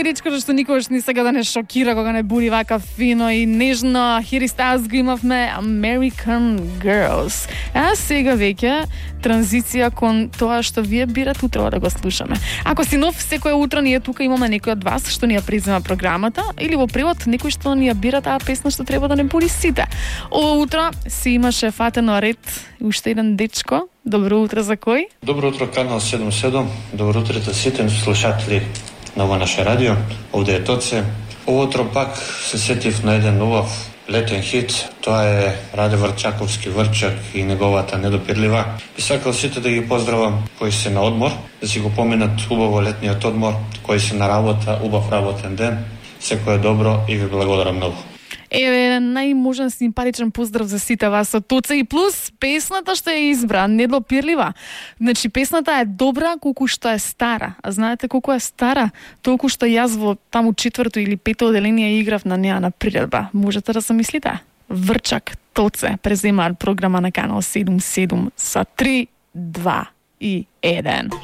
дечкото што никогаш ни сега да не шокира кога не буди вака фино и нежно. Harry Styles го имавме, American Girls. А сега веќе транзиција кон тоа што вие бирате утро да го слушаме. Ако си нов, секое утро ние тука имаме некој од вас што ни ја презема програмата или во превод некој што ни ја бира таа песна што треба да не буди сите. Ова утро си имаше фатено ред уште еден дечко. Добро утро за кој? Добро утро, Канал 77. Добро утро сите слушатели на ова наше радио. Овде е Тоце. Ово утро пак се сетив на еден убав летен хит. Тоа е Раде Врчаковски Врчак и неговата Недопирлива. И сакал сите да ги поздравам кои се на одмор, да си го поминат убаво летниот одмор, кои се на работа, убав работен ден. Секое добро и ви благодарам многу. Еве, најможен симпатичен поздрав за сите вас од Тоце и плюс песната што ја избра, Недопирлива. Значи, песната е добра колку што е стара. А знаете колку е стара? Толку што јас во таму 4-то или 5-то оделение играв на неа на приредба. Можете да се мислите? Врчак, Тоце, преземаат програма на Канал 77 со 3, 2 и 1.